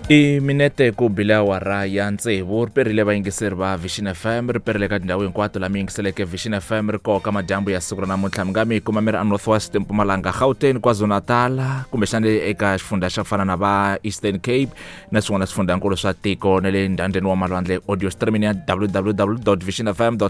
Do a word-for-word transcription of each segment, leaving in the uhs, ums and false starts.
I minete ku bile awara ya tsevu ri perile vayingiseri va Vision F M, ri perile ka tindhawu hinkwato laha mi yingiseleke Vision F M ri koka madyambu ya siku ra namuntlha. Mi nga mi kuma mi ri a North West, Mpumalanga, Gauteng, KwaZulu-Natal, kumbexana eka xifundza xa fana na va Eastern Cape na swin'wana swifundzakulu swa tiko na le ndhandeni wa malwandle, audio streaming ya W W W vision F M co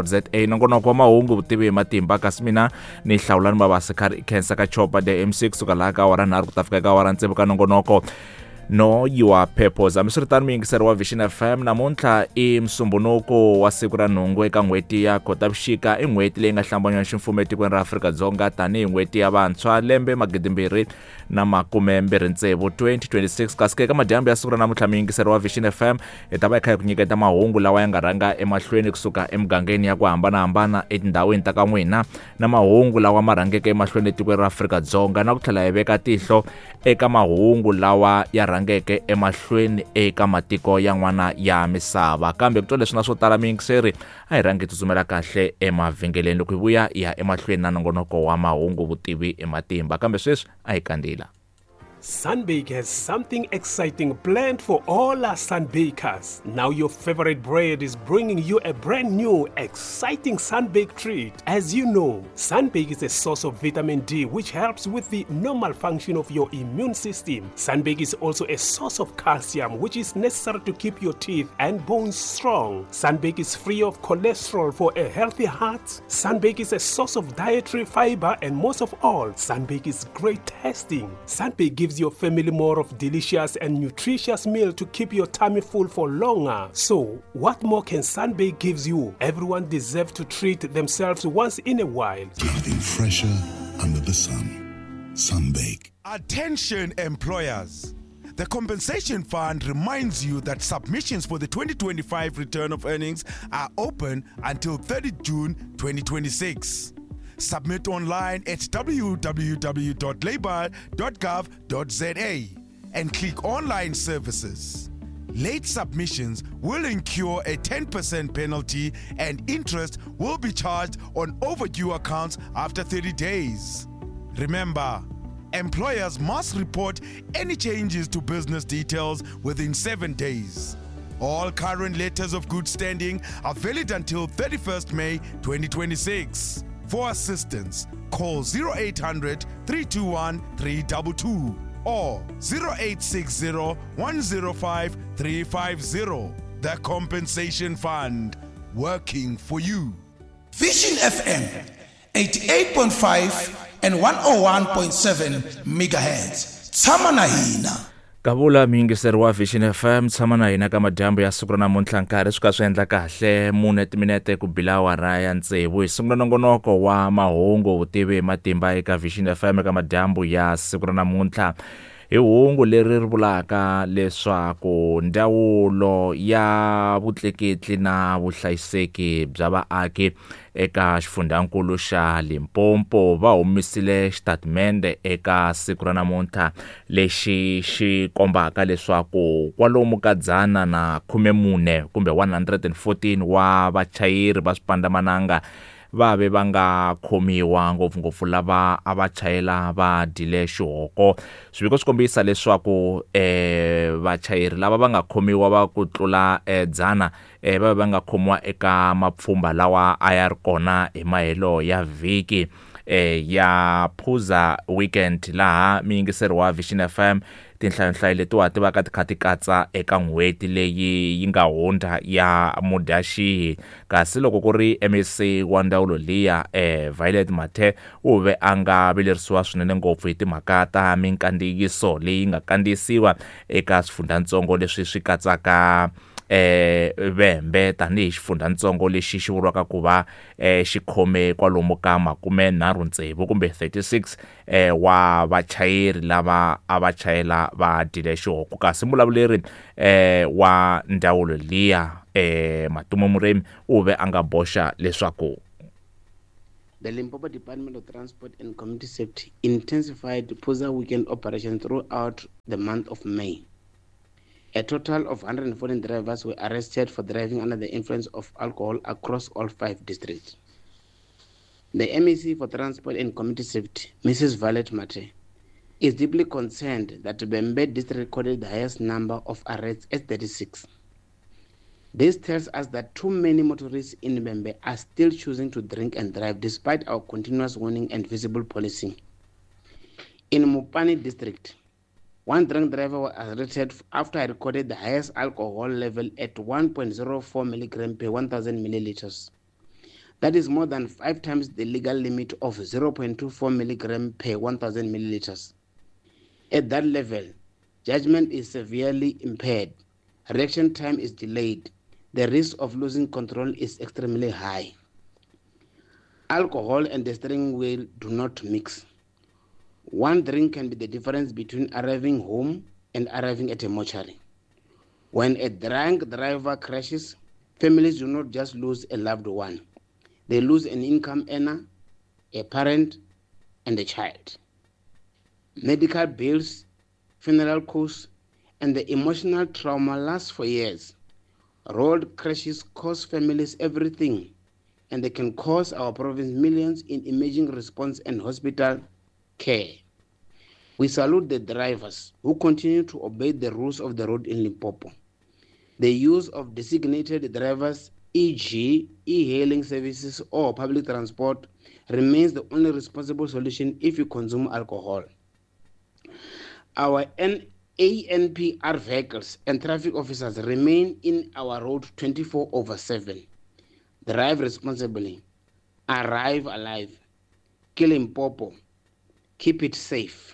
za. Nongonoko wa mahungu, vutivi hi matimba, kasi mina ni Hlawulani Mabasa karhi khensa ka Chopa the M C kusuka laha ka awara nharhu ku ta fika ka awara tsevu ka nongonoko Know Your Purpose. Hambiswiritano, muyingiseri wa Vision F M, namuntlha i Musumbunuko wa siku ra nhungu eka n'hweti ya Khotavuxika, i n'hweti leyi nga hlambanywa ximfumo etikweni ra Afrika-Dzonga tanihi n'hweti ya vantshwa lembe magidimbirhi na makume mbirhi tsevu, twenty twenty-six. Kasi ke eka madyambu ya siku ra namuntlha, muyingiseri wa Vision F M, hi ta va hi kha hi ku nyiketa mahungu lawa ya nga rhanga emahlweni kusuka emugangeni ya ku hambanahambana etindhawini ta ka n'wina, na mahungu lawa ma rhangeke emahlweni etikweni ra Afrika-Dzonga, na ku tlhela hi veka tihlo eka mahungu lawa ya rhangeke emahlweni eka matiko yan'wana ya misava. Kambe ku twa leswi na swo tala, miyingiseri, a hi rhangi hi tsutsumela kahle emavhengeleni. Loko hi vuya, hi ya emahlweni na nongonoko wa mahungu, vutivi hi matimba. Kambe sweswi a hi kandzila. Sunbake has something exciting planned for all our Sunbakers. Now your favorite bread is bringing you a brand new, exciting Sunbake treat. As you know, Sunbake is a source of vitamin D, which helps with the normal function of your immune system. Sunbake is also a source of calcium, which is necessary to keep your teeth and bones strong. Sunbake is free of cholesterol for a healthy heart. Sunbake is a source of dietary fiber, and most of all, Sunbake is great tasting. Sunbake gives your family more of delicious and nutritious meal to keep your tummy full for longer. So, what more can Sunbake gives you? Everyone deserves to treat themselves once in a while. Nothing fresher under the sun. Sunbake. Attention employers. The Compensation Fund reminds you that submissions for the twenty twenty-five return of earnings are open until thirty June twenty twenty-six. Submit online at W W W dot labour dot gov dot Z A and click Online Services. Late submissions will incur a ten percent penalty and interest will be charged on overdue accounts after thirty days. Remember, employers must report any changes to business details within seven days. All current letters of good standing are valid until thirty-first May twenty twenty-six. For assistance, call zero eight hundred three two one three two two or zero eight six zero one zero five three five zero. The Compensation Fund, working for you. Vision F M eighty-eight point five and one oh one point seven megahertz. Tshama na hina. Kavula, muyingiseri wa Vision F M, tshama na hina ka madyambu ya siku ra namuntlha. Nkarhi swi ka swi endla kahle mune timinete ku bila awara ya tsevu, hi sungula nongonoko wa mahungu, vutivi hi matimba eka Vision F M eka madyambu ya siku ra namuntlha hi hungu leri ri vulaka leswaku ndzawulo ya vutleketli na vuhlayiseki bya vaaki eka xifundzankulu xa Limpopo va humisile xitatimende eka siku ra namuntlha lexi xi kombaka leswaku kwalomu ka dzana na khume mune kumbe one hundred fourteen wa vachayeri va swipandzamananga va ve va nga khomiwa, ngopfungopfu lava a va chayela va dyile xihoko. Swiviko swi kombisa leswaku eh vachayeri lava va nga khomiwa va ku tlula eh, dzana eh, va ve va nga khomiwa eka mapfhumba lawa a ya ri kona hi mahelo ya vhiki eh, ya Phuza Weekend, laha miyingiseri wa Vision F M, tinhlayonhlayo letiwa ti va ka ti kha ti katsa eka n'hweti leyi yi nga hundza ya Mudyaxihi. Kasi loko ku ri M E C wa ndzawulo liya, eh, Violet Mathe, u ve a nga vilerisiwa swinene ngopfu hi timhaka ta minkandziyiso leyi nga kandziyisiwa eka swifundzantsongo leswi swi katsaka eh Vhembe tanihi xifundzatsongo lexi xi vuriwaka ku va eh xi khome kwalomu ka makume nharhu tsevu kumbe thirty-six eh wa vachayeri lava a va chayela va dyile xihoko. Kasi mulavuleri eh wa ndzawulo liya, eh Matumo Muremi, u ve a nga boxa leswaku The Limpopo Department of Transport and Community Safety intensified Phuza Weekend operations throughout the month of May. A total of one hundred fourteen drivers were arrested for driving under the influence of alcohol across all five districts. The M E C for Transport and Community Safety, Missus Violet Mathe, is deeply concerned that Vhembe district recorded the highest number of arrests at thirty-six. This tells us that too many motorists in Vhembe are still choosing to drink and drive despite our continuous warning and visible policing. In Mopani district, one drunk driver was arrested after he recorded the highest alcohol level at one point zero four milligrams per one thousand milliliters. That is more than five times the legal limit of zero point two four milligrams per one thousand milliliters. At that level, judgment is severely impaired, reaction time is delayed, the risk of losing control is extremely high. Alcohol and the steering wheel do not mix. One drink can be the difference between arriving home and arriving at a mortuary. When a drunk driver crashes, families do not just lose a loved one. They lose an income earner, a parent, and a child. Medical bills, funeral costs, and the emotional trauma last for years. Road crashes cost families everything, and they can cost our province millions in emergency response and hospital care. We salute the drivers who continue to obey the rules of the road in Limpopo. The use of designated drivers, for example e-hailing services or public transport, remains the only responsible solution if you consume alcohol. Our A N P R vehicles and traffic officers remain in our road twenty-four over seven. Drive responsibly. Arrive alive. Kill Limpopo. Keep it safe.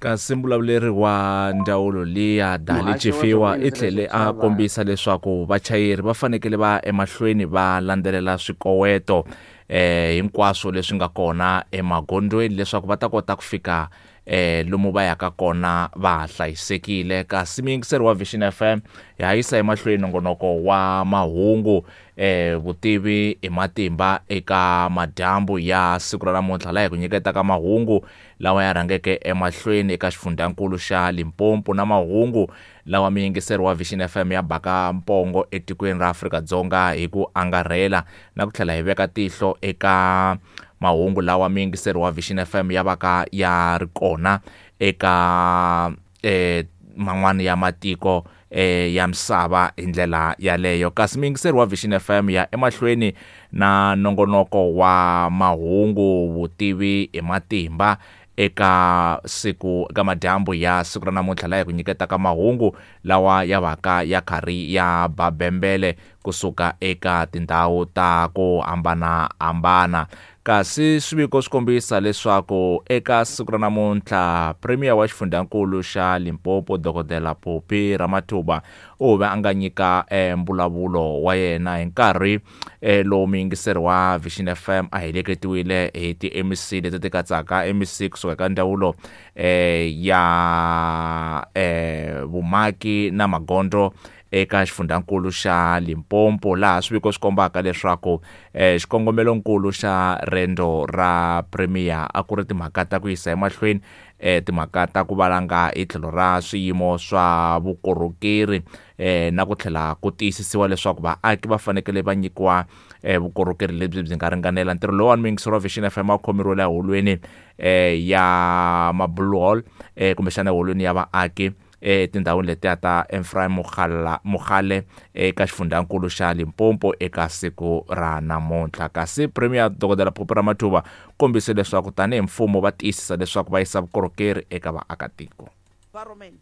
Kasi mbulavuleri wa ndzawulo liya Dali Chifiwa i tlhele a kombisa leswaku vachayeri va fanekele va emahlweni va landzelela swikoweto eh hinkwaswo leswi nga kona emagondzweni leswaku va ta kota ku fika eh lomu va yaka kona va hlayisekile. Kasi muyingiseri wa Vision F M ya yisa emahlweni nongonoko wa mahungu eh vutivi hi matimba eka madyambu ya siku ra namuntlha, laha hi ku nyiketaka mahungu lawa ya rhangeke emahlweni eka xifundzankulu xa Limpopo na mahungu lawa muyingiseri wa Vision F M ya baka mpongo etikweni ra Afrika-Dzonga hi ku angarhela, na ku tlhela hi veka tihlo eka mahungu lawa muyingiseri wa Vision F M ya vaka ya ri kona eka eh man'wana ya matiko eh ya misava hi ndlela yaleyo. Kasi muyingiseri wa Vision F M ya emahlweni na nongonoko wa mahungu vutivi hi matimba eka siku eka madyambu ya siku ra namuntlha, laha hi ku nyiketaka mahungu lawa ya vaka ya karhi ya babembele kusuka eka tindhawu ta ku hambanahambana. Kasi swiviko swi kombisa leswaku eka siku ra namuntlha Premier wa xifundzankulu xa Limpopo Dokodela Phophi Ramathuba u ve a nga nyika eh, mbulavulo wa yena hi nkarhi eh, lowu muyingiseri wa Vision F M a heleketiwile hi ti-M C leti ti katsaka M C kusuka eka ndzawulo eh, ya eh, vumaki na magondzo eka xifundzankulu xa Limpopo, laha swiviko swi kombaka leswaku eh, xikongomelonkulu xa rendzo ra Premier a ku ri timhaka ta ku yisa emahlweni eh, timhaka ta ku valanga hi tlhelo ra swiyimo swa vukorhokeri eh, na ku tlhela ku tiyisisiwa leswaku vaaki va fanekele va nyikiwa eh, vukorhokeri lebyi byi nga ringanela. Ntirho lowuwani muyingiseri wa Vision F M a wu khomeriwile eholweni eh, ya Mabulu Hall eh, kumbexana eholweni ya vaaki etindhawini letiya ta Ephraim Mogale Mogale eka xifundzankulu xa Limpopo eka siku ra namuntlha. Kasi Premier Dokodela Phophi Ramathuba kombise leswaku tanihi mfumo va tiyisisa leswaku va yisa vukorhokeri eka vaakatiko. Environment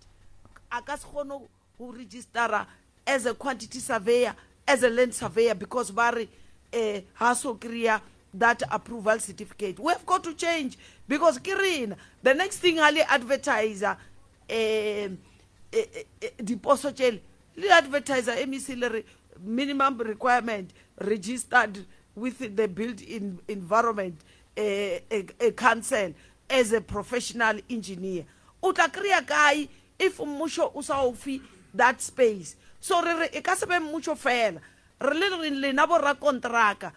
a ka se kgone go registera as a quantity surveyor, as a land surveyor, because ba re eh ha so kry-a that approval certificate. We have got to change because ke rena the next thing ha le advertiser eh diposo tšele le advertiser M E C le re minimum requirement registered with the built in environment eh, a, a council as a professional engineer. O tla kry-a kae if mmušo o sa o fe that space? So re re e ka se be mmušo fela, re le re lena bo rakontraka,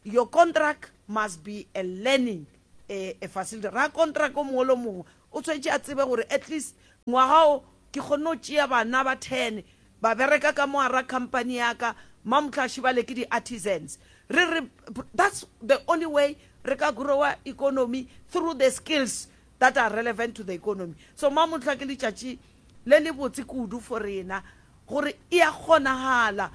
your contract must be a learning a, a facility. Rakontraka o mongwe le mongwe o tshwanetse a tsebe gore at least ngwaga o ke kgonne go tšea bana ba ten ba bereka ka mo hara company ya ka mamotlhaši ba le ke di-artisans. Re re that's the only way re ka growa economy through the skills. that are relevant to the economy. So mamotlha ke letšatši le le botse kudu for rena gore e a kgonagala.